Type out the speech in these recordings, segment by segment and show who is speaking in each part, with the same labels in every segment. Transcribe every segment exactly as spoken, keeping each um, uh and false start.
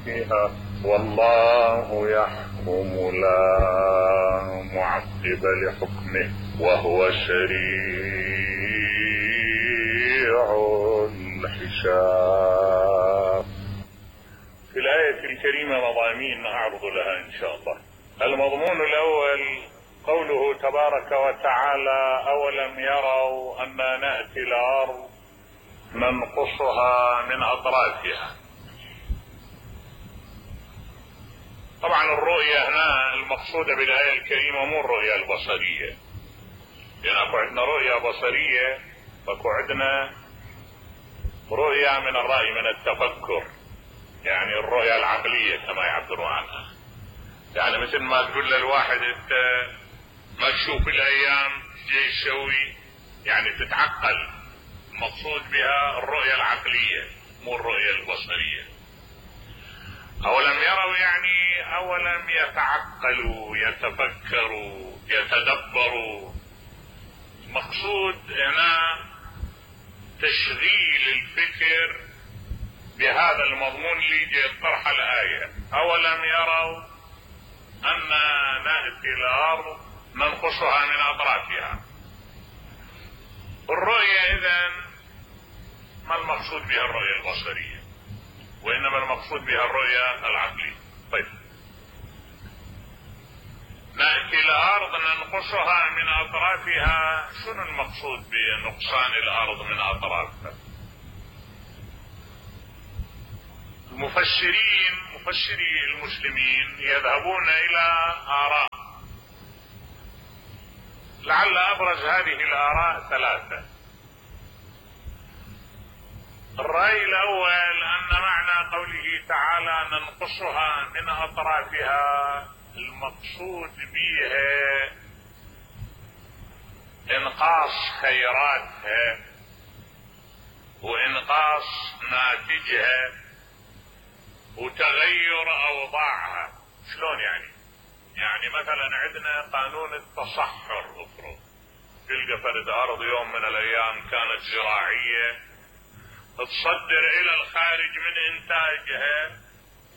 Speaker 1: فيها والله يحكم لا معقب لحكمه وهو سريع الحساب. في الآية الكريمة مضامين أعرض لها إن شاء الله. المضمون الأول قوله تبارك وتعالى أولم يروا أنا نأتي الأرض ننقصها من أطرافها. طبعا الرؤية هنا المقصودة بالآية الكريمة مو الرؤية البصرية، لأن أكو عندنا رؤية بصرية وأكو عندنا رؤية من الرأي من التفكر، يعني الرؤية العقلية كما يعبروا عنها. يعني مثل ما تقول للواحد انت ما تشوف الايام جاي تسوي، يعني تتعقل. المقصود بها الرؤية العقلية مو الرؤية البصرية. اولم يروا يعني اولم يتعقلوا يتفكروا يتدبروا. مقصود هنا تشغيل الفكر بهذا المضمون اللي جاء طرح الآية. أولم يروا أن نأتي الأرض ننقصها من أطرافها. الرؤية إذن ما المقصود بها الرؤية البصرية، وإنما المقصود بها الرؤية العقلية. طيب نأتي الأرض ننقصها من أطرافها، شنو المقصود بنقصان الأرض من أطرافها؟ المفسرين مفسري المسلمين يذهبون إلى آراء، لعل أبرز هذه الآراء ثلاثة. الرأي الأول أن معنى قوله تعالى ننقصها من أطرافها المقصود بها إنقاص خيراتها وإنقاص ناتجها وتغير أوضاعها. شلون يعني؟ يعني مثلا عندنا قانون التصحر، افرض تلقى فرد أرض يوم من الأيام كانت زراعية تصدر إلى الخارج من إنتاجها،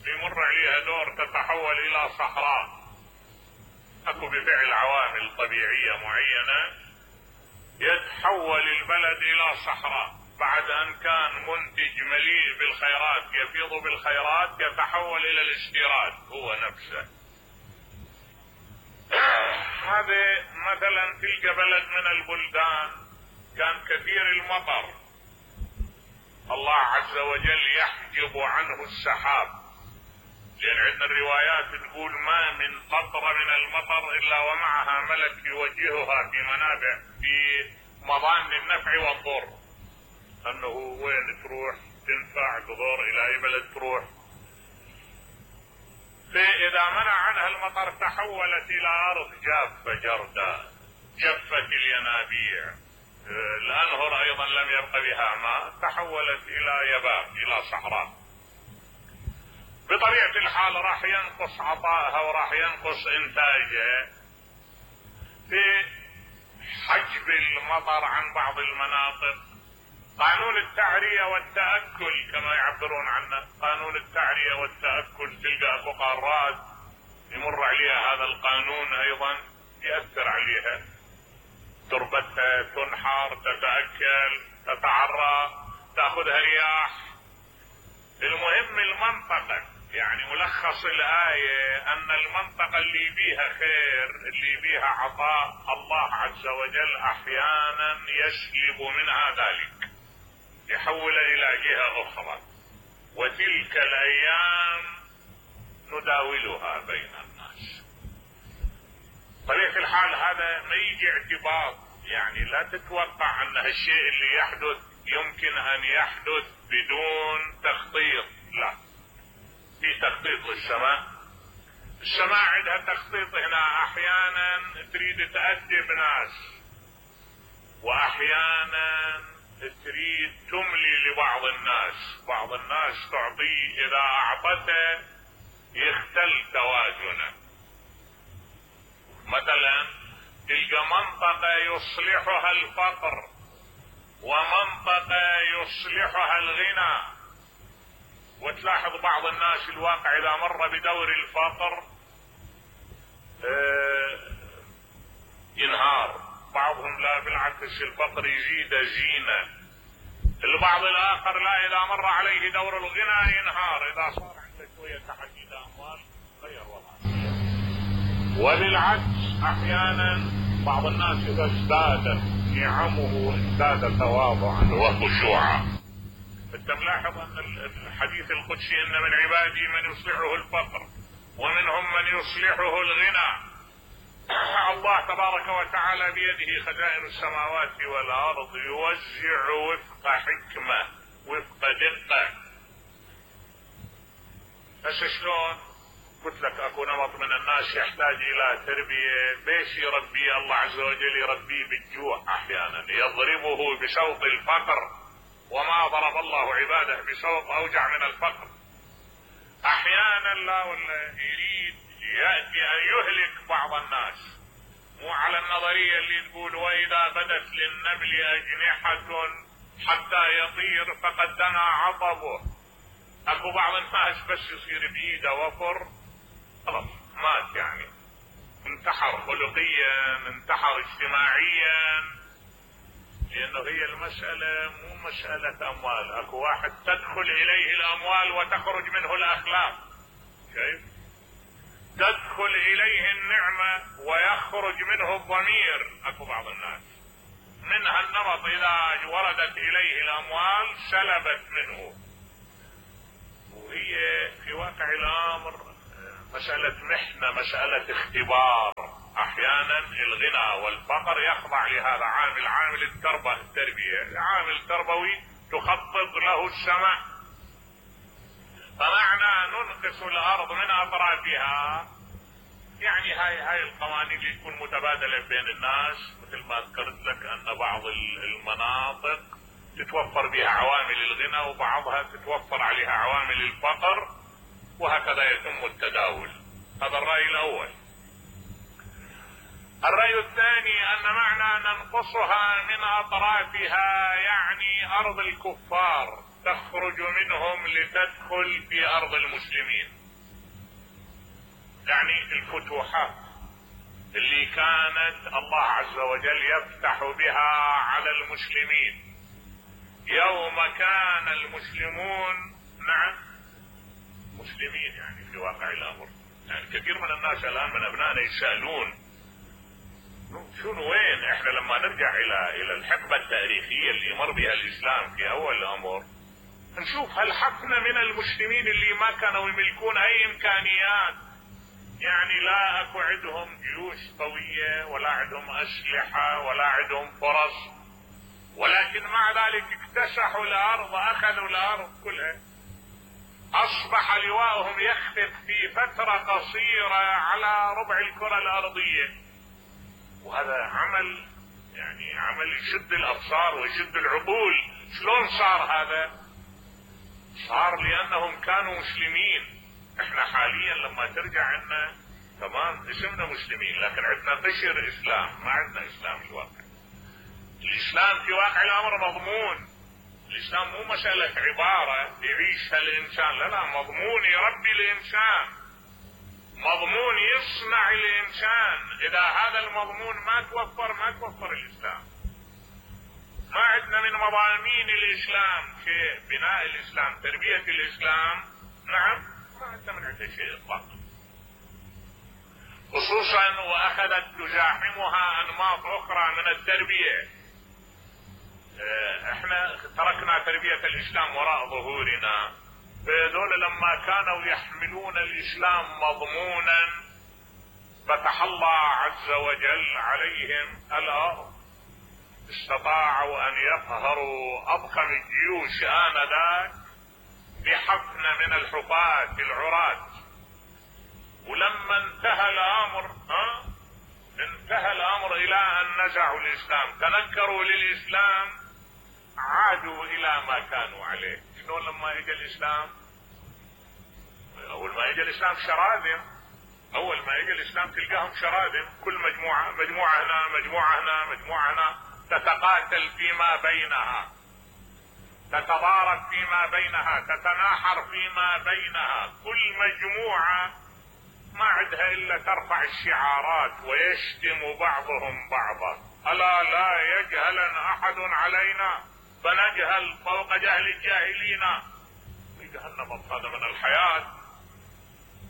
Speaker 1: يمر عليها دور تتحول إلى صحراء، أكو بفعل عوامل طبيعية معينة يتحول البلد إلى صحراء. بعد أن كان منتج مليء بالخيرات يفيض بالخيرات يتحول إلى الاستيراد هو نفسه. هذا مثلا تلك بلد من البلدان كان كثير المطر، الله عز وجل يحجب عنه السحاب، لأن عندنا الروايات تقول ما من قطرة من المطر إلا ومعها ملك يوجهها في منابع في مضان النفع والضر، أنه وين تروح تنفع تضر إلى أي بلد تروح. فإذا منع عنها المطر تحولت إلى أرض جافة جرداء، جفت الينابيع، الأنهر أيضا لم يبق بها ماء، تحولت إلى يباب إلى صحراء. بطبيعة الحال راح ينقص عطائها وراح ينقص إنتاجها في حجب المطر عن بعض المناطق. قانون التعرية والتأكل كما يعبرون عنه، قانون التعرية والتأكل تلقى اكو قارات يمر عليها هذا القانون ايضا يأثر عليها، تربتها تنحر تتأكل تتعرى تأخذها رياح. المهم المنطقة، يعني ملخص الآية أن المنطقة اللي بيها خير اللي بيها عطاء الله عز وجل أحيانا يسلب منها ذلك يحول إلى جهة أخرى، وتلك الأيام نداولها بين الناس. طبيعة الحال هذا ما يجي اعتباط، يعني لا تتوقع أن هالشيء اللي يحدث يمكن أن يحدث بدون تخطيط، لا، في تخطيط للسماء. السماء عندها تخطيط هنا، أحيانا تريد تأدب ناس وأحيانا تريد تملي لبعض الناس، بعض الناس تعطيه إذا أعطته يختل توازنه. مثلا تلقى منطقة يصلحها الفقر ومنطقة يصلحها الغنى، وتلاحظ بعض الناس الواقع اذا مر بدور الفقر اه ينهار، بعضهم لا بالعكس الفقر يزيد زينة، البعض الاخر لا اذا مر عليه دور الغنى ينهار، اذا صار عنده شوية تحديد اموال غير وضعه. وللعكس احيانا بعض الناس اذا ازدادت نعمه ازداد تواضعا وخشوعا. انت ملاحظ ان الحديث القدسي ان من عبادي من يصلحه الفقر ومنهم من يصلحه الغنى. الله تبارك وتعالى بيده خزائن السماوات والارض، يوزع وفق حكمة وفق دقة. هسه شلون؟ قلت لك اكو نمط من الناس يحتاج الى تربية، بيش يربيه الله عز وجل؟ يربيه بالجوع احيانا، يضربه بسوط الفقر، وما ضرب الله عباده بسوط اوجع من الفقر. احيانا لا ولا يريد يأتي ان يهلك بعض الناس، مو على النظرية اللي تقول واذا بدت للنمل اجنحة حتى يطير فقد دنا عطبه. اكو بعض الناس بس يصير بايده وفر خلاص مات، يعني انتحر خلقيا انتحر اجتماعيا، لانه هي المسألة مو مسألة اموال. اكو واحد تدخل اليه الاموال وتخرج منه الاخلاق، كيف؟ تدخل اليه النعمة ويخرج منه الضمير. اكو بعض الناس من هالنمط اذا وردت اليه الاموال سلبت منه، وهي في واقع الامر مسألة محنة، مسألة اختبار. احيانا الغنى والفقر يخضع لهذا عامل، عامل التربة التربية، العامل التربوي تخطط له السماء. فمعنى ننقص الارض من اطرافها يعني هاي هاي القوانين اللي تكون متبادلة بين الناس، مثل ما ذكرت لك ان بعض المناطق تتوفر بها عوامل الغنى وبعضها تتوفر عليها عوامل الفقر، وهكذا يتم التداول. هذا الرأي الاول. الرأي الثاني ان معنى ننقصها من اطرافها يعني ارض الكفار تخرج منهم لتدخل في ارض المسلمين، يعني الفتوحات اللي كانت الله عز وجل يفتح بها على المسلمين يوم كان المسلمون نعم مسلمين، يعني في واقع الامر. يعني كثير من الناس الان من ابنائنا يسألون شنو وين احنا لما نرجع الى الى الحقبة التاريخية اللي مر بها الاسلام في اول الامر، نشوف هل حقنا من المسلمين اللي ما كانوا يملكون اي امكانيات، يعني لا اكو عندهم جيوش قوية ولا عندهم اسلحة ولا عندهم فرص، ولكن مع ذلك اكتسحوا الارض، اخذوا الارض كلها، اصبح لواءهم يختف في فترة قصيرة على ربع الكرة الارضية. وهذا عمل يعني عمل يشد الابصار ويشد العقول. شلون صار هذا؟ صار لانهم كانوا مسلمين. احنا حاليا لما ترجع عنا تمام اسمنا مسلمين، لكن عندنا قشر اسلام، ما عندنا اسلام الواقع. الاسلام في واقع الامر مضمون. الاسلام مو مسألة عبارة يعيشها الانسان، لا لا، مضمون يربي الانسان، مضمون يصنع الانسان. اذا هذا المضمون ما توفر ما توفر الاسلام. ما عندنا من مضامين الاسلام شيء، بناء الاسلام، تربية الاسلام، نعم ما عندنا من عنده شيء اطلاقا. خصوصا واخذت تزاحمها انماط اخرى من التربية. احنا تركنا تربية الاسلام وراء ظهورنا، فهذول لما كانوا يحملون الاسلام مضمونا فتح الله عز وجل عليهم الارض، استطاعوا ان يقهروا اضخم الجيوش انذاك بحفنة من الحفاة العراة. ولما انتهى الامر ها انتهى الامر الى ان نزعوا الاسلام، تنكروا للاسلام، عادوا الى ما كانوا عليه. شلون لما اجى الاسلام؟ اول ما اجى الاسلام شراذم، اول ما اجى الاسلام تلقاهم شراذم، كل مجموعة مجموعة هنا مجموعة هنا مجموعة هنا تتقاتل فيما بينها. تتضارب فيما بينها، تتناحر فيما بينها، كل مجموعة ما عندها الا ترفع الشعارات ويشتم بعضهم بعضا. الا لا يجهلن احد علينا فنجهل فوق جهل الجاهلين. في جهنم هذا من الحياة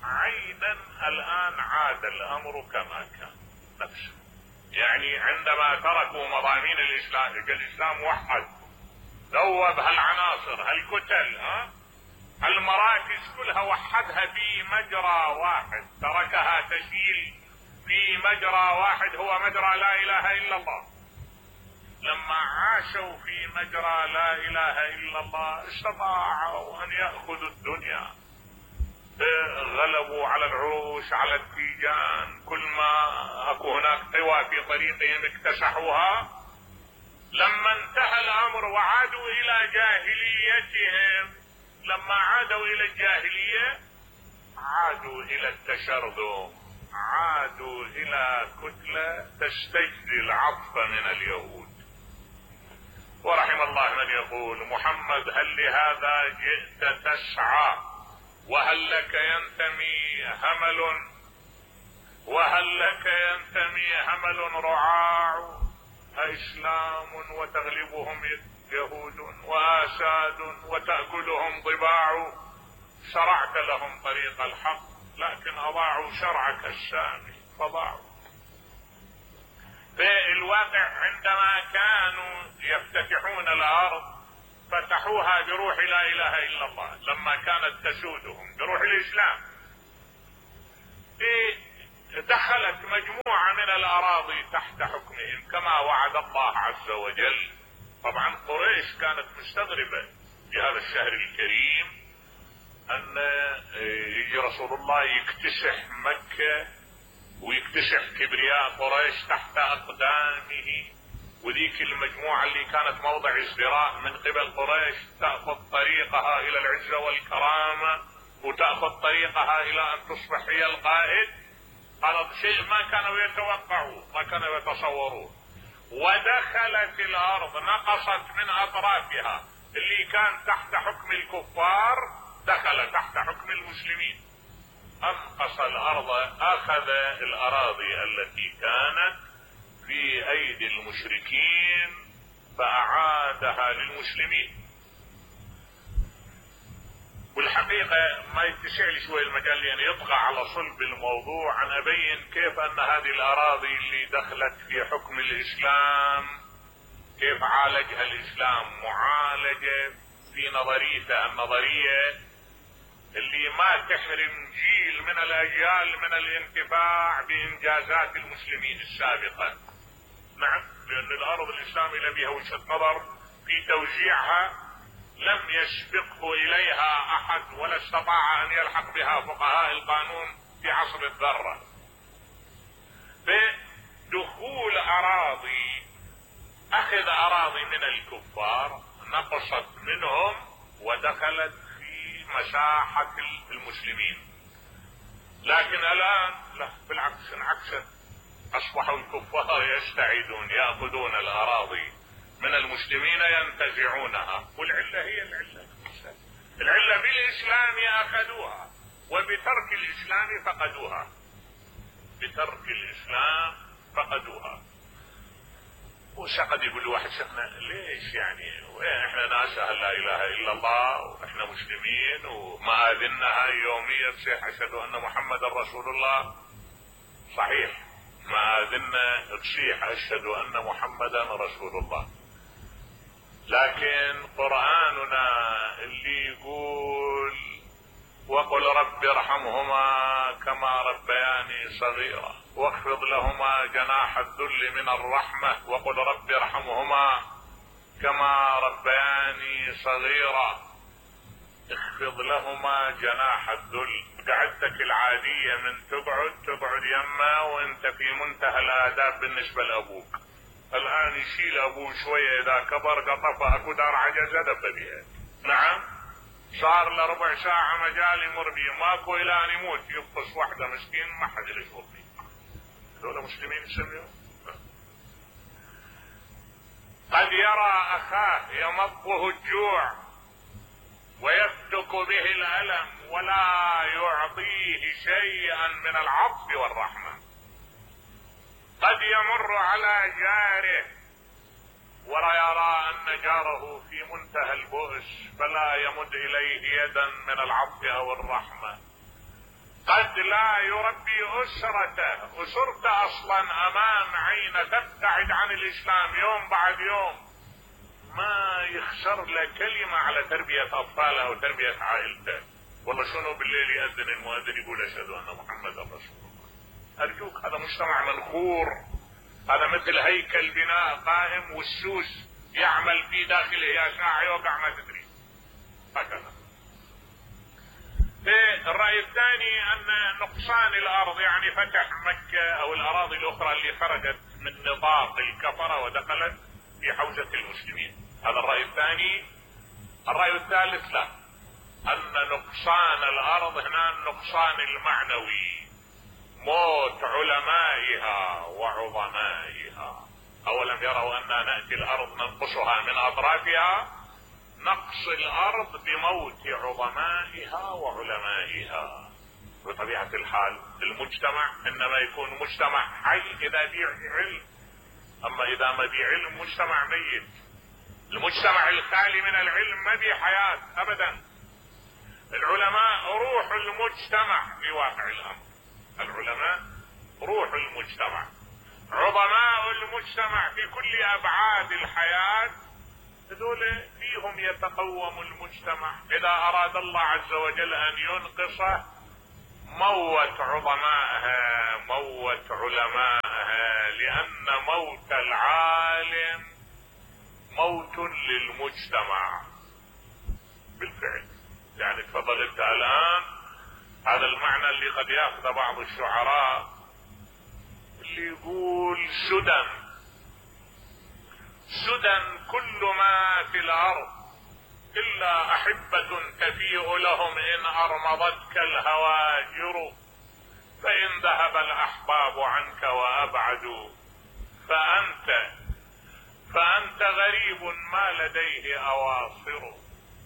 Speaker 1: عينا. الان عاد الامر كما كان نفسه، يعني عندما تركوا مضامين الاسلام، الاسلام وحد ذوب هالعناصر هالكتل ها المراكز كلها، وحدها في مجرى واحد، تركها تسيل في مجرى واحد هو مجرى لا اله الا الله. لما عاشوا في مجرى لا اله الا الله استطاعوا ان يأخذوا الدنيا، غلبوا على العروش على التيجان، كل ما اكو هناك قوى في طريقهم اكتسحوها. لما انتهى الامر وعادوا الى جاهليتهم، لما عادوا الى الجاهلية عادوا الى التشرذم، عادوا الى كتلة تستجدي العطف من اليهود. ورحم الله من يقول محمد هل لهذا جئت تسعى وهل لك ينتمي همل، وهل لك ينتمي همل رعاع، أإسلام وتغلبهم يهود وآساد وتأكلهم ضباع، شرعت لهم طريق الحق لكن أضاعوا شرعك السامي فضاعوا. في الواقع عندما كانوا يفتتحون الأرض فتحوها بروح لا إله إلا الله، لما كانت تسودهم بروح الإسلام. دخلت مجموعة من الأراضي تحت حكمهم كما وعد الله عز وجل. طبعا قريش كانت مستغربة في هذا الشهر الكريم أن يجي رسول الله يكتسح مكة ويكتسح كبرياء قريش تحت أقدامه، وذيك المجموعة اللي كانت موضع ازدراء من قبل قريش تأخذ طريقها إلى العزة والكرامة وتأخذ طريقها إلى أن تصبح هي القائد. هذا شيء ما كانوا يتوقعوه، ما كانوا يتصوروه. ودخلت الأرض، نقصت من أطرافها اللي كان تحت حكم الكفار دخل تحت حكم المسلمين. انقص الارض، اخذ الاراضي التي كانت في ايدي المشركين فاعادها للمسلمين. والحقيقة ما يتسع لي شوي المجال لان يطغى على صلب الموضوع ان ابين كيف ان هذه الاراضي اللي دخلت في حكم الاسلام كيف عالجها الاسلام معالجة في نظريته النظرية اللي ما تحرم جيل من الاجيال من الانتفاع بانجازات المسلمين السابقة. نعم، لان الارض الاسلامي لم بها وجهة نظر في توزيعها لم يسبقه اليها احد ولا استطاع ان يلحق بها فقهاء القانون في عصر الذرة. بدخول اراضي، اخذ اراضي من الكفار نقصت منهم ودخلت مساحة المسلمين. لكن الان لا، بالعكس انعكست، اصبحوا الكفار يستعيدون يأخذون الاراضي من المسلمين ينتزعونها. والعلة هي العلة العلة بالاسلام اخذوها وبترك الاسلام فقدوها، بترك الاسلام فقدوها. وشقد يقول واحد شيخنا ليش يعني احنا ناس لا اله الا الله واحنا مسلمين ومآذننا هاي يوميا تصيح اشهد ان محمد رسول الله. صحيح مآذننا تصيح اشهد ان محمدا رسول الله، لكن قرآننا اللي يقول وقل رب ارحمهما كما ربياني صغيرا واخفض لهما جناح الذل من الرحمة وقل رب ارحمهما كما ربياني صغيرا، اخفض لهما جناح الذل. قعدتك العادية من تقعد تقعد يما وانت في منتهى الاداب بالنسبة لابوك. الان يشيل ابوه شوية اذا كبر قطفه اكو دار عجزة دب بها. نعم، صار له ربع ساعة مجال يمر بيه ماكو الى ان يموت يفطس واحدة مسكين ما حد يشوف فيه. هذول مسلمين يسميهم. قد يرى اخاه يمضه الجوع ويفتك به الالم ولا يعطيه شيئا من العطف والرحمة. قد يمر على جاره ويرى ان جاره في منتهى البؤس فلا يمد اليه يدا من العطف او الرحمة. قد لا يربي اسرته، اسرته اصلا امام عينه تبتعد عن الاسلام يوم بعد يوم، ما يخسر له كلمة على تربية اطفاله وتربية عائلته. والله شنو بالليل يأذن المؤذن يقول اشهد ان محمدا رسول الله. ارجوك هذا مجتمع منخور، هذا مثل هيكل بناء قائم والسوس يعمل في داخله يا ساعة يوقع ما تدري. هكذا. الرأي الثاني ان نقصان الارض يعني فتح مكة او الاراضي الاخرى اللي خرجت من نطاق الكفرة ودخلت في حوزة المسلمين، هذا الرأي الثاني. الرأي الثالث لا، ان نقصان الارض هنا النقصان المعنوي، موت علمائها وعظمائها. اولم يروا اننا نأتي الارض ننقصها من اطرافها، نقص الارض بموت عظمائها وعلمائها. بطبيعة الحال المجتمع انما يكون مجتمع حي اذا بيه علم، اما اذا ما بيه علم مجتمع ميت. المجتمع الخالي من العلم ما بيه حياة ابدا. العلماء روح المجتمع في واقع الامر، العلماء روح المجتمع، عظماء المجتمع في كل ابعاد الحياة، هذول فيهم يتقوم المجتمع. اذا اراد الله عز وجل ان ينقصه موت عظمائها موت علمائها، لان موت العالم موت للمجتمع بالفعل. يعني تفضل انت الان هذا المعنى اللي قد ياخذ بعض الشعراء اللي يقول سدى سدى كل ما في الارض الا احبة تفيء لهم ان ارمضتك الهواجر، فان ذهب الاحباب عنك وابعدوا فانت فانت غريب ما لديه اواصر،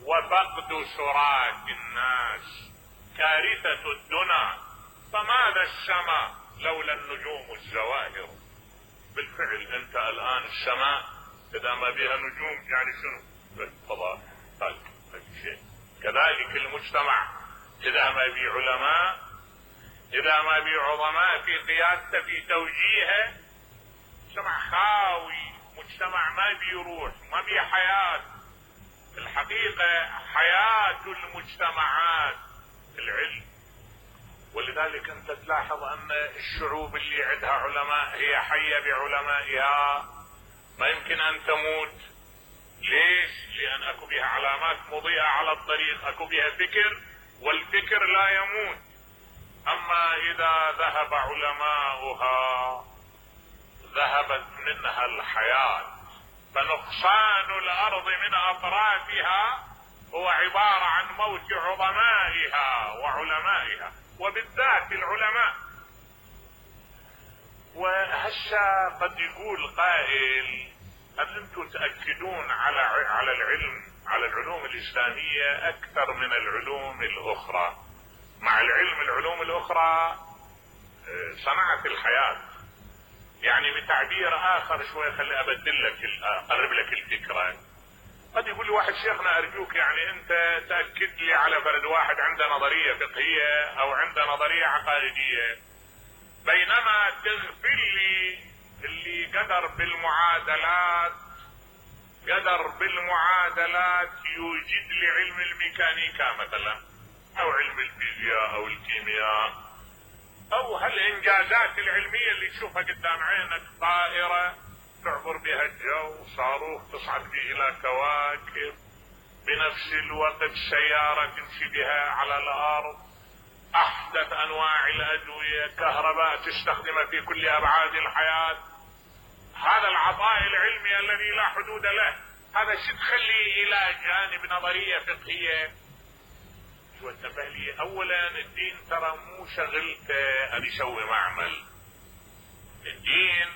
Speaker 1: وفقد سراك الناس كارثة الدنا، فماذا السماء لولا النجوم الزواهر. بالفعل انت الان السماء اذا ما بها نجوم يعني شنو؟ بالفضاء. طيب شيء كذلك المجتمع اذا ما بي علماء، اذا ما بي عظماء في قيادته في توجيهه، مجتمع خاوي، مجتمع ما بي روح، ما بي حياة. الحقيقة حياة المجتمعات العلم، ولذلك انت تلاحظ ان الشعوب اللي عندها علماء هي حية بعلمائها، ما يمكن ان تموت. ليش؟ لان اكو بها علامات مضيئة على الطريق، اكو بها فكر، والفكر لا يموت. اما اذا ذهب علماؤها ذهبت منها الحياة. فنقصان الارض من اطرافها هو عبارة عن موت عظمائها وعلمائها، وبالذات العلماء. وهسه قد يقول قائل هل انتم تأكدون على على العلم على العلوم الاسلامية اكثر من العلوم الاخرى؟ مع العلم العلوم الاخرى صنعت الحياة. يعني بتعبير اخر شوي خلي ابدل لك اقرب لك الفكرة. قد يقول لي واحد شيخنا ارجوك يعني انت تأكد لي على فرد واحد عنده نظرية فقهية او عنده نظرية عقائدية، بينما تغفل لي اللي قدر بالمعادلات قدر بالمعادلات يوجد لي علم الميكانيكا مثلا او علم الفيزياء او الكيمياء او هالانجازات العلمية اللي تشوفها قدام عينك، طائرة تعبر بها الجو، صاروخ تصعد به الى كواكب، بنفس الوقت سيارة تمشي بها على الارض، احدث انواع الادوية، كهرباء تستخدمها في كل ابعاد الحياة. هذا العطاء العلمي الذي لا حدود له، هذا شو تخليه الى جانب نظرية فقهية؟ وانتبه لي، اولا الدين ترى مو شغلته ان يسوي معمل. الدين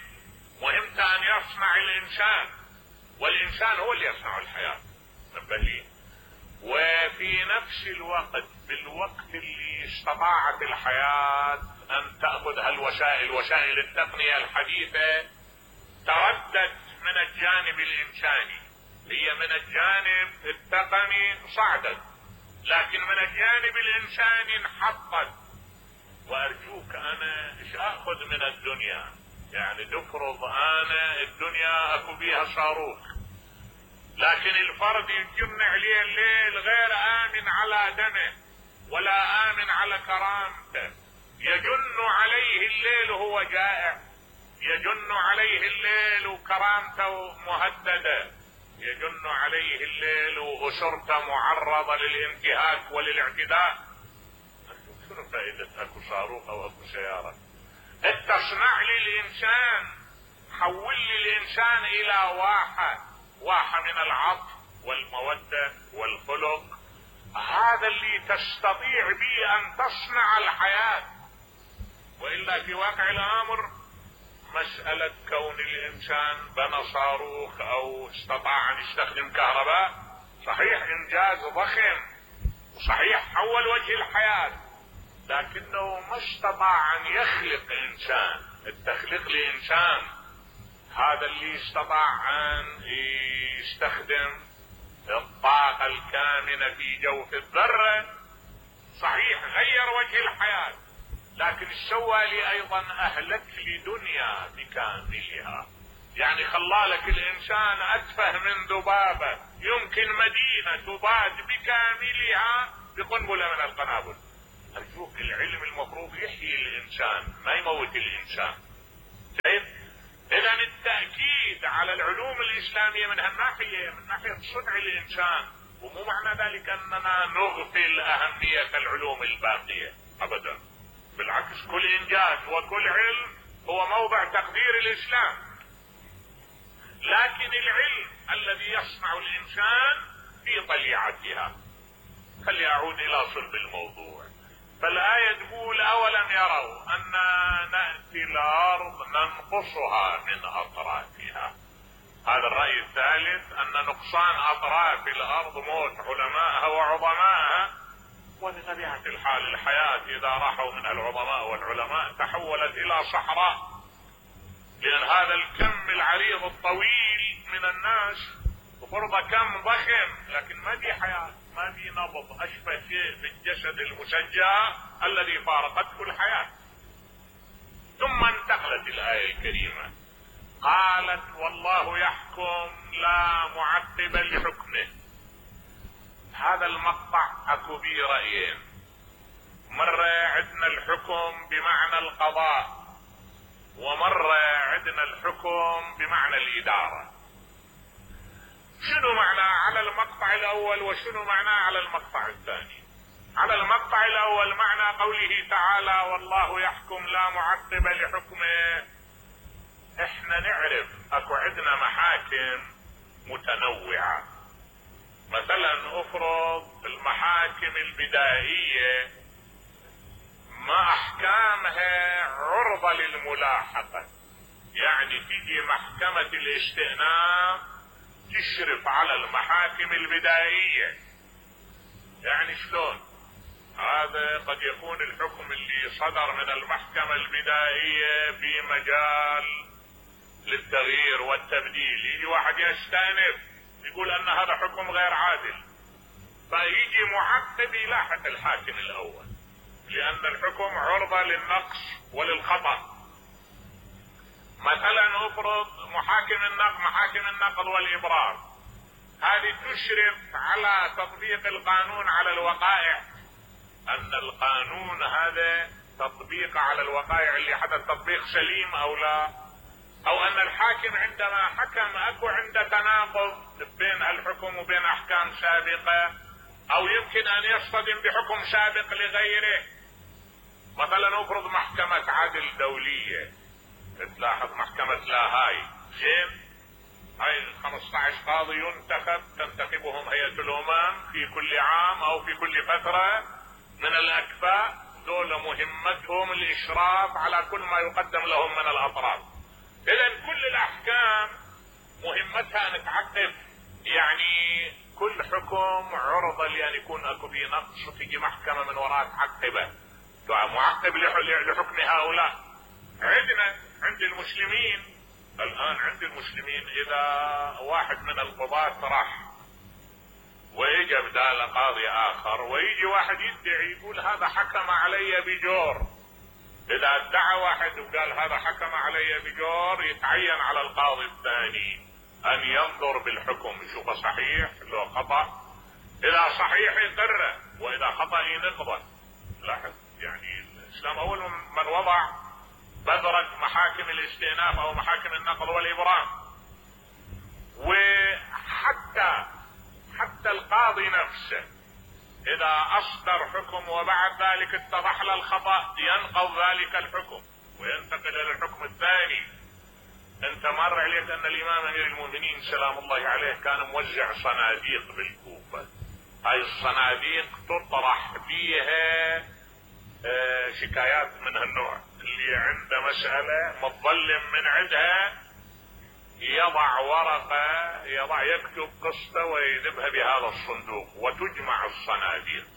Speaker 1: مهمته ان يصنع الانسان، والإنسان هو اللي يصنع الحياة. نبه. وفي نفس الوقت بالوقت اللي استطاعت الحياة أن تأخذ هالوسائل وسائل التقنية الحديثة تردد من الجانب الإنساني، هي من الجانب التقني صعدت لكن من الجانب الإنساني انحطت. وأرجوك أنا إيش أخذ من الدنيا؟ يعني تفرض أنا الدنيا أكو بيها صاروخ لكن الفرد يجن عليه الليل غير آمن على دمه ولا آمن على كرامته، يجن عليه الليل وهو جائع، يجن عليه الليل وكرامته مهددة، يجن عليه الليل وأسرته معرضة للانتهاك وللاعتداء. شنو فائدة اكو صاروخ او اكو سيارة؟ اتصنع لي الانسان، حول لي الانسان الى واحة، واحة من العطف والمودة والخلق، هذا اللي تستطيع به ان تصنع الحياة. وإلا في واقع الامر مسألة كون الانسان بنى صاروخ او استطاع ان يستخدم كهرباء صحيح انجاز ضخم وصحيح حول وجه الحياة، لكنه ما استطاع ان يخلق انسان. التخليق لانسان هذا اللي استطاع ان يستخدم الطاقة الكامنة في جوف الذرة، صحيح غير وجه الحياة لكن سوى لي ايضا اهلك لدنيا بكاملها، يعني خلالك الانسان اتفه من ذبابة، يمكن مدينة تضاد بكاملها بقنبلة من القنابل. ارجوك العلم المفروض يحيي الانسان ما يموت الانسان. طيب اذا التأكيد على العلوم الاسلامية من هالناحية من ناحية صنع الانسان، ومو معنى ذلك اننا نغفل اهمية العلوم الباقية ابدا، بالعكس كل انجاز وكل علم هو موضع تقدير الاسلام، لكن العلم الذي يصنع الانسان في طليعتها. خلي اعود الى صلب الموضوع. فالآية تقول اولم يروا أننا نأتي الارض ننقصها من اطرافها. هذا الرأي الثالث ان نقصان اطراف الارض موت علمائها وعظمائها، وبطبيعة الحال الحياة اذا راحوا من العظماء والعلماء تحولت الى صحراء، لان هذا الكم العريض الطويل من الناس وفرض كم ضخم لكن ما في حياة ما في نبض، اشبه شيء بالجسد المشجع الذي فارقته الحياة. ثم انتقلت الآية الكريمة قالت والله يحكم لا معقب لحكمه. هذا المقطع اكو به رأيين، مرة عندنا الحكم بمعنى القضاء ومرة عندنا الحكم بمعنى الإدارة. شنو معنى على المقطع الاول وشنو معنى على المقطع الثاني؟ على المقطع الاول معنى قوله تعالى والله يحكم لا معقب لحكمه، احنا نعرف اكو عندنا محاكم متنوعة. مثلا افرض المحاكم البدائية ما احكامها عرضة للملاحقة، يعني تيجي محكمة الاستئناف تشرف على المحاكم البدائية. يعني شلون؟ هذا قد يكون الحكم اللي صدر من المحكمة البدائية في مجال للتغيير والتبديل، يجي واحد يستأنف يقول ان هذا حكم غير عادل، فيجي معقب يلاحق الحاكم الاول لان الحكم عرضة للنقص وللخطأ. مثلا افرض محاكم النقض محاكم النقض والابرار، هذه تشرف على تطبيق القانون على الوقائع، ان القانون هذا تطبيق على الوقائع اللي حدث تطبيق سليم او لا، او ان الحاكم عندما حكم اكو عنده تناقض بين الحكم وبين احكام سابقة، او يمكن ان يصطدم بحكم سابق لغيره. مثلا افرض محكمة عدل دولية، تلاحظ محكمة لاهاي، زين هاي خمسة عشر قاضي ينتخب تنتخبهم هيئة الامم في كل عام او في كل فترة من الاكفاء، دول مهمتهم الاشراف على كل ما يقدم لهم من الاطراف. اذا كل الاحكام مهمتها ان تعقب، يعني كل حكم عرضة لان يكون اكو فيه نقص وتجي محكمة من وراء تعقبه، معقب لحكم هؤلاء. عندنا عند المسلمين الان، عند المسلمين اذا واحد من القضاة راح ويجي بدال قاضي اخر ويجي واحد يدعي يقول هذا حكم علي بجور، اذا ادعى واحد وقال هذا حكم علي بجور يتعين على القاضي الثاني ان ينظر بالحكم يشوفه صحيح لو خطأ، اذا صحيح يقره واذا خطأ ينقضه. لاحظ يعني الاسلام اول من وضع بذرة محاكم الاستئناف او محاكم النقض والابرام. وحتى حتى القاضي نفسه اذا اصدر حكم وبعد ذلك اتضح له الخطأ ينقض ذلك الحكم وينتقل الى الحكم الثاني. انت مر عليك ان الامام امير المؤمنين سلام الله عليه كان موزع صناديق بالكوفة، هاي الصناديق تطرح فيها اه شكايات من هالنوع، اللي عنده مسألة متظلم من عندها يضع ورقة، يضع يكتب قصة ويذبها بهذا الصندوق وتجمع الصناديق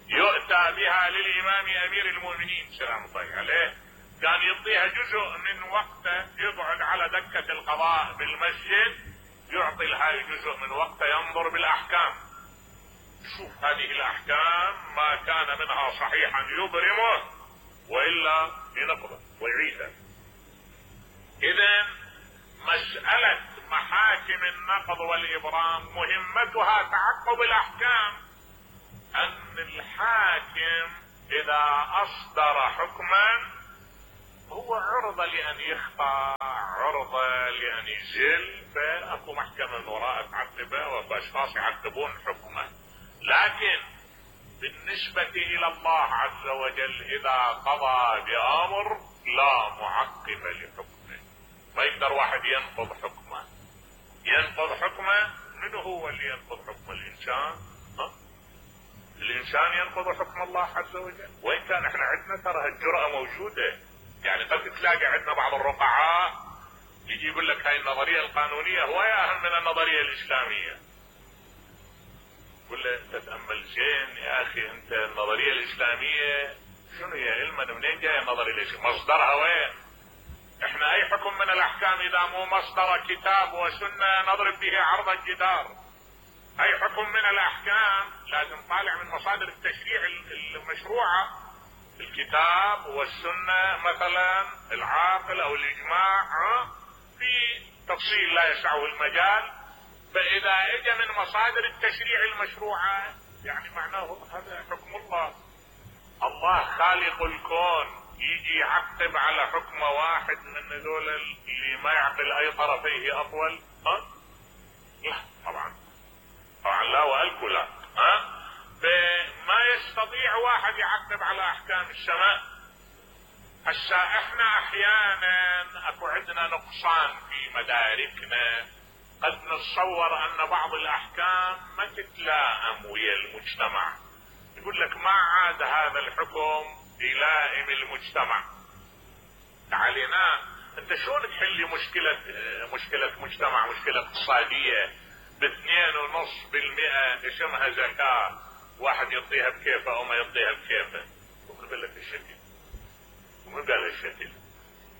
Speaker 1: يؤتى بها للامام امير المؤمنين سلام الله عليه، كان يعطيها جزء من وقته يقعد على دكة القضاء بالمسجد يعطي لها جزء من وقته ينظر بالاحكام، شوف هذه الاحكام ما كان منها صحيحا يبرمه والا ينقضه ويعيده. اذا مسألة محاكم النقض والابرام مهمتها تعقب الاحكام، ان الحاكم اذا اصدر حكما هو عرضة لان يخطأ، عرضة لان يزل، فاكو محكمة من وراء تعقبه واكو اشخاص يعقبون حكمه. لكن بالنسبة الى الله عز وجل اذا قضى بامر لا معقب لحكمه، ما يقدر واحد ينقض حكمه. ينقض حكمه منو هو اللي ينقض حكم الانسان؟ ها؟ الانسان ينقض حكم الله عز وجل. وان كان احنا عندنا ترى هالجرأة موجودة، يعني قد تلاقي عندنا بعض الرقعاء يجي يقول لك هاي النظرية القانونية هواية اهم من النظرية الاسلامية. قل له انت تأمل زين يا اخي، انت النظرية الاسلامية شنو هي؟ علما منين جاي النظرية الاسلامية؟ مصدرها وين؟ احنا اي حكم من الاحكام اذا مو مصدر كتاب وسنة نضرب به عرض الجدار. اي حكم من الاحكام لازم طالع من مصادر التشريع المشروعة، الكتاب والسنة مثلا، العاقل او الاجماع في تفصيل لا يسعه المجال. فاذا اجى من مصادر التشريع المشروعة يعني معناه هذا حكم الله. الله خالق الكون يجي يعقب على حكم واحد من هذول اللي ما يعقل اي طرفيه اطول؟ ها؟ لا طبعا طبعا لا والكل لا. ها؟ فما يستطيع واحد يعقب على احكام السماء. هسا احنا احيانا اكو عندنا نقصان في مداركنا، قد نتصور ان بعض الاحكام ما تتلائم ويا المجتمع، يقول لك ما عاد هذا الحكم يلائم المجتمع. علينا انت شلون تحلي مشكلة مشكلة مجتمع، مشكلة اقتصادية باثنين ونص بالمئة اسمها زكاة، واحد يعطيها بكيفه او ما يعطيها بكيفه؟ وقبل لك الشكل ومن قال الشكل؟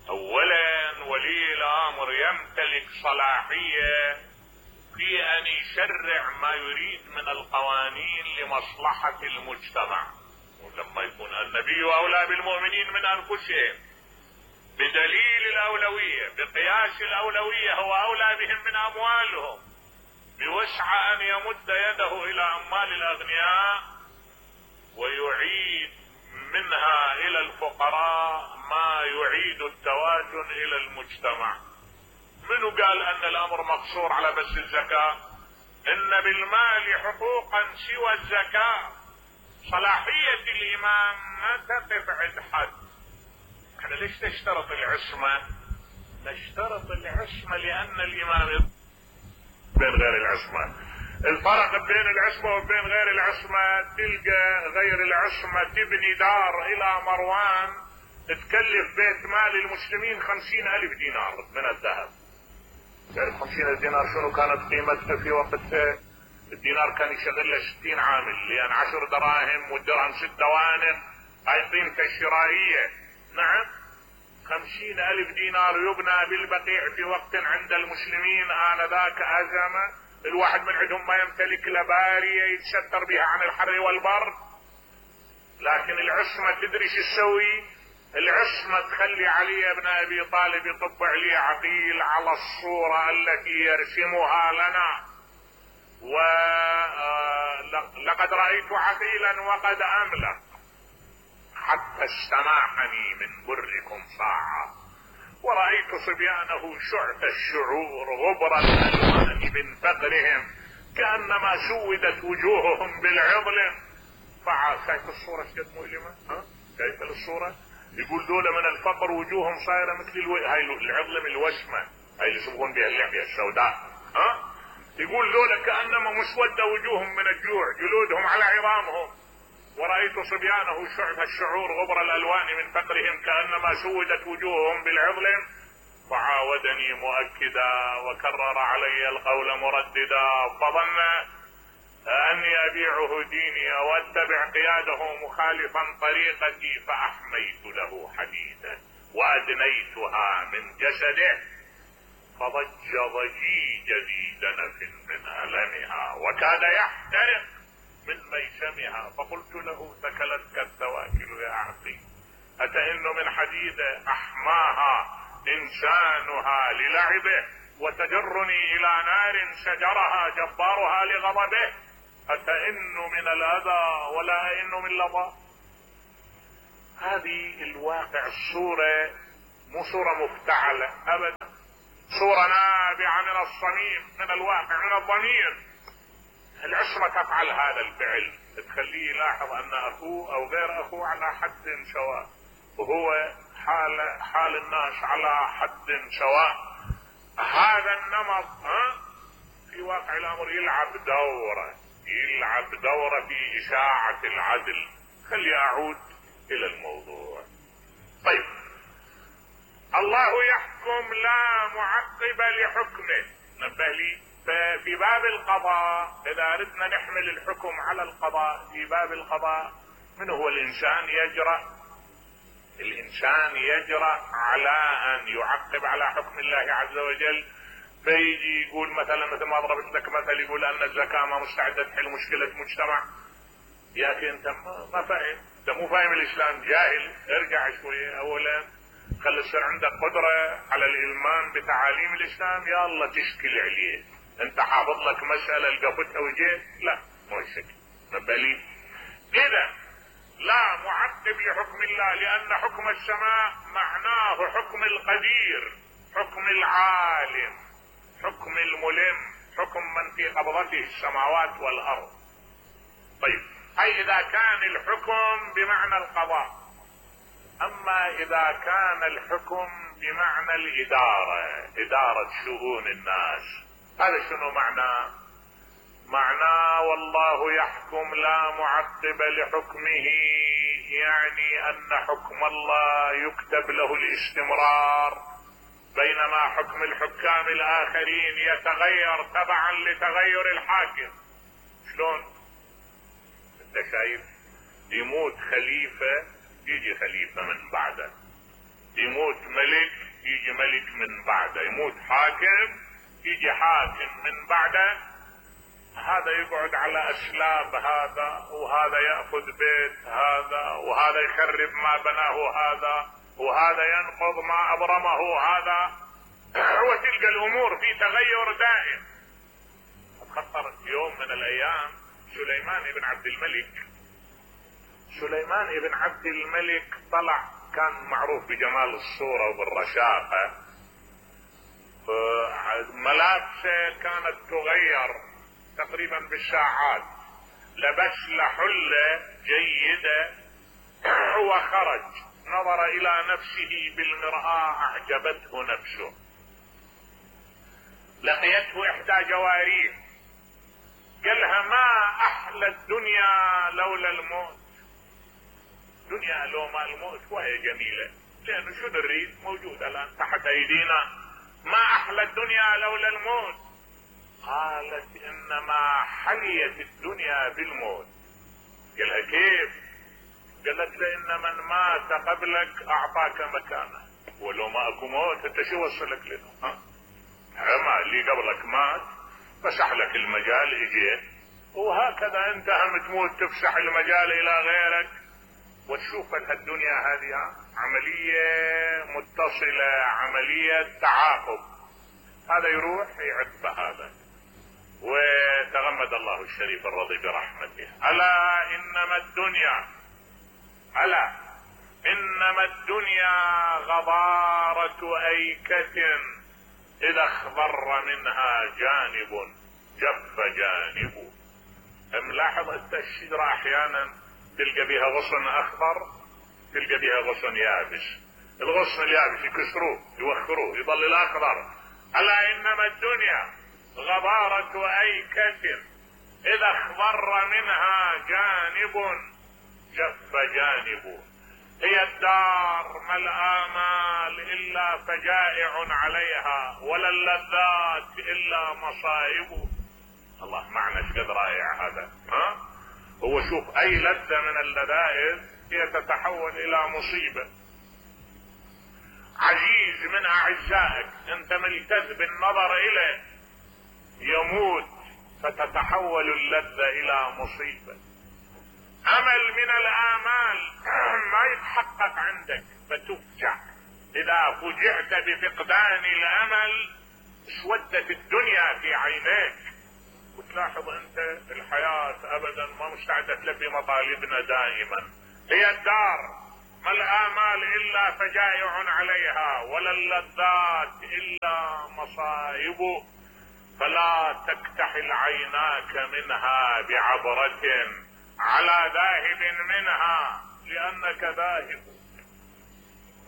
Speaker 1: اولا ولي الامر يمتلك صلاحية في ان يشرع ما يريد من القوانين لمصلحة المجتمع، ولما يكون النبي اولى بالمؤمنين من انفسهم بدليل الاولوية، بقياس الاولوية هو اولى بهم من اموالهم، بوسع ان يمد يده الى اموال الاغنياء ويعيد منها الى الفقراء ما يعيد التوازن الى المجتمع. منو قال ان الامر مقصور على بس الزكاة؟ ان بالمال حقوقا سوى الزكاة. صلاحية الامام ما تقف عند حد. احنا ليش نشترط العصمة؟ نشترط العصمة لان الامام بين غير العصمة. الفرق بين العصمة وبين غير العصمة تلقى غير العصمة تبني دار الى مروان تكلف بيت مال المسلمين خمسين الف دينار من الذهب، تعرف خمسين ألف دينار شنو كانت قيمتها في وقتها؟ الدينار كان يشغل له ستين عامل، لان عشر دراهم والدرهم ست دوانق، هاي قيمته الشرائية. نعم، خمسين ألف دينار يبنى بالبقيع في وقت عند المسلمين آنذاك أزمة الواحد من عندهم ما يمتلك لبارية يتستر بها عن الحر والبرد. لكن العصمة تدري شو تسوي؟ العصمة تخلي علي بن أبي طالب يطبع لي عقيل على الصورة التي يرسمها لنا، ولقد رأيت عقيلا وقد أملق حتى استماحني من بركم ساعة، ورأيت صبيانه شعث الشعور غبر الألوان من فقرهم كأنما سودت وجوههم بالعضل. شايف الصورة شد مؤلمة؟ ها؟ شايف الصورة؟ يقول دولة من الفقر وجوههم صايرة مثل الو... هاي العظلم الوشمة، هاي اللي يسمون بها اللحية السوداء. ها؟ يقول دولة كأنما مسودة وجوههم من الجوع، جلودهم على عظامهم. ورأيت صبيانه شعث الشعور غبر الألوان من فقرهم كأنما سودت وجوههم بالعظلم. فعاودني مؤكدا وكرر علي القول مرددا، فظن أني أبيعه ديني وأتبع قياده مخالفا طريقتي، فأحميت له حديدا وأدنيتها من جسده، فضج ضجيج ذي دنف من ألمها وكاد يحترق من ميسمها. فقلت له ثكلتك الثواكل يا عقيل، أتئن من حديد أحماها إنسانها للعبه، وتجرني إلى نار سجرها جبارها لغضبه. أتئن من الأذى ولا أئن من لظى. هذه الواقع الصورة مو صورة مفتعلة أبدا، صورة نابعة من الصميم، من الواقع، من الضمير. العصمة تفعل هذا الفعل، تخليه يلاحظ أن أخوه أو غير أخوه على حد سواء، وهو حال حال الناس على حد سواء. هذا النمط ها في واقع الأمر يلعب دورة، يلعب دورة في إشاعة العدل. خلي أعود إلى الموضوع. طيب، الله يحكم لا معقب لحكمه. نبه لي، ففي باب القضاء إذا أردنا نحمل الحكم على القضاء، في باب القضاء من هو الإنسان يجرأ؟ الإنسان يجرأ على أن يعقب على حكم الله عز وجل، فيجي يقول مثلا مثل ما ضربت لك مثل، يقول أن الزكاة ما مستعدة تحل مشكلة مجتمع. يا أخي أنت ما فاهم، أنت مو فاهم الإسلام، جاهل. ارجع شوية، أولا خلي يصير عندك قدرة على الإلمام بتعاليم الإسلام، يا الله تشكل عليه. أنت حافظ لك مسألة لقفتها وجيت، لا مو شكل. نبالي إذا لا معقب لحكم الله، لأن حكم السماء معناه حكم القدير، حكم العالم، حكم الملم، حكم من في قبضته السماوات والأرض. طيب، أي إذا كان الحكم بمعنى القضاء. أما إذا كان الحكم بمعنى الإدارة، إدارة شؤون الناس، هذا شنو معناه؟ معناه والله يحكم لا معقب لحكمه، يعني أن حكم الله يكتب له الاستمرار، بينما حكم الحكام الآخرين يتغير تبعا لتغير الحاكم. شلون؟ انت شايف يموت خليفة يجي خليفة من بعده، يموت ملك يجي ملك من بعده، يموت حاكم يجي حاكم من بعده. هذا يقعد على أسلاب هذا، وهذا يأخذ بيت هذا، وهذا يخرب ما بناه هذا، وهذا ينقض ما أبرمه هذا، وتلقى الأمور في تغير دائم. خطر يوم من الأيام سليمان بن عبد الملك، سليمان بن عبد الملك طلع، كان معروف بجمال الصورة وبالرشاقة، ملابسه كانت تغير تقريبا بالساعات، لبس له حلة جيدة وخرج، نظر إلى نفسه بالمرآة أعجبته نفسه، لقيته إحدى جواريه قالها ما أحلى الدنيا لولا الموت. دنيا لو ما الموت وهي جميلة، لأنه شو نريد موجود الآن تحت أيدينا. ما احلى الدنيا لولا الموت. قالت انما حليت الدنيا بالموت. قالها كيف؟ قالت له ان من مات قبلك اعطاك مكانه، ولو ما اكو موت انت شو وصلك له؟ ها؟ ما اللي قبلك مات فسح لك المجال اجيت، وهكذا انت هم تموت تفسح المجال الى غيرك وتشوف الدنيا هذه عملية متصلة، عملية تعاقب. هذا يروح يعد هذا. وتغمد الله الشريف الرضي برحمته. الا انما الدنيا الا انما الدنيا غبارة ايكة اذا اخضر منها جانب جف جانبه. ملاحظ انت الشجرة احيانا تلقى بها غصن اخضر، تلقى بها غصن يابس. الغصن اليابس يكسروه يوخروه يظل الاخضر. الا انما الدنيا غبارة ايكة اذا اخضر منها جانب جف جانبه. هي الدار ما الآمال الا فجائع عليها، ولا اللذات الا مصائب. الله معنى ايش قد رائع هذا. ها هو شوف اي لذة من اللذائذ هي تتحول الى مصيبة. عزيز من اعزائك انت ملتذ بالنظر اليه يموت فتتحول اللذة الى مصيبة. امل من الامال ما يتحقق عندك فتفجع. اذا فجعت بفقدان الامل اسودت الدنيا في عينيك، وتلاحظ انت الحياة ابدا ما مستعدة تلبي مطالبنا دائما. هي الدار ما الامال الا فجائع عليها، ولا اللذات الا مصائب. فلا تكتحل عيناك منها بعبرة على ذاهب منها لانك ذاهب.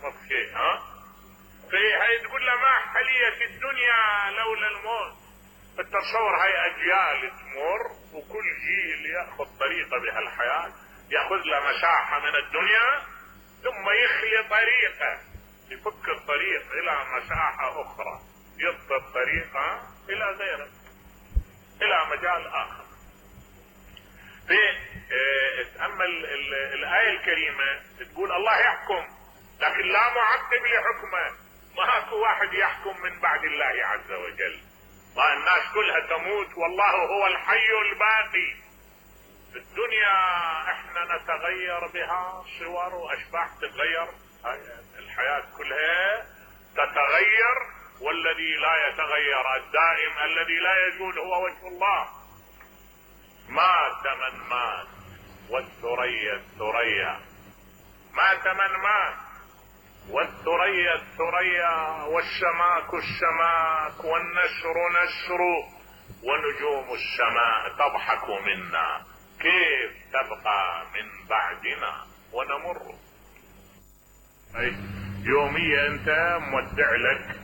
Speaker 1: اوكي ها في هاي تقول له ما حليت الدنيا لولا الموت. التصور هاي اجيال تمر وكل جيل ياخذ طريقه بهالحياه، ياخذ له مساحه من الدنيا ثم يخلي طريقه، يفك الطريق الى مساحه اخرى، يضبط الطريقه الى غيره، الى مجال اخر. في اه تأمل الآية الكريمة تقول الله يحكم لكن لا معقب لحكمه. ما اكو واحد يحكم من بعد الله عز وجل. ما الناس كلها تموت والله هو الحي الباقي. الدنيا احنا نتغير بها صور واشباح تتغير، الحياة كلها تتغير، والذي لا يتغير الدائم الذي لا يزول هو وجه الله. مات من مات والثريا الثريا، مات من مات والثريا الثريا، والسماك السماك، والنسر نسر، ونجوم السماء تضحك منا كيف تبقى من بعدنا ونمر. أي يوميا انت مودع لك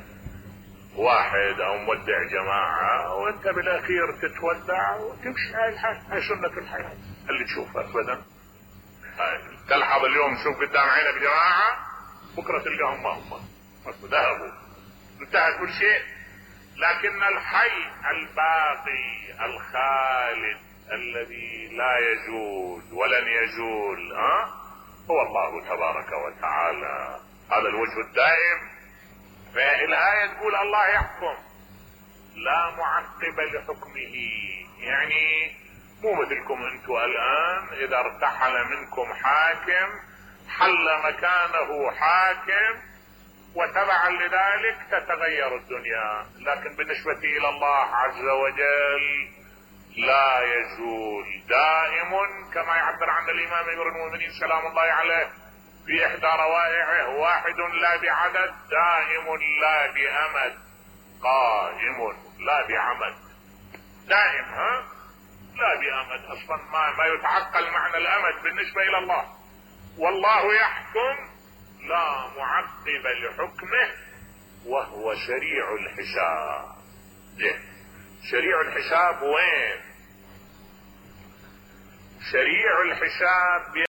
Speaker 1: واحد او مودع جماعة وانت بالاخير تتودع وتمشي. هاي الحياة، هاي سنة الحياة اللي تشوفها ابدا. تلحظ اليوم تشوف قدام عينك جماعة بكرة تلقاهم ما هم ذهبوا، انتهى كل شيء. لكن الحي الباقي الخالد الذي لا يزول ولن يزول ها هو الله تبارك وتعالى. هذا الوجه الدائم. فالآية تقول الله يحكم لا معقب لحكمه، يعني مو مثلكم انتم الآن اذا ارتحل منكم حاكم حل مكانه حاكم وتبعا لذلك تتغير الدنيا. لكن بالنسبة الى الله عز وجل لا يزول، دائم، كما يعبر عن الامام امير المؤمنين سلام الله عليه في احدى روائعه: واحد لا بعدد، دائم لا بامد، قائم لا بعمد. دائم ها لا بامد، اصلا ما, ما يتعقل معنى الامد بالنسبة الى الله. والله يحكم لا معقب لحكمه وهو سريع الحساب. ليه؟ سريع الحساب وين؟ سريع الحساب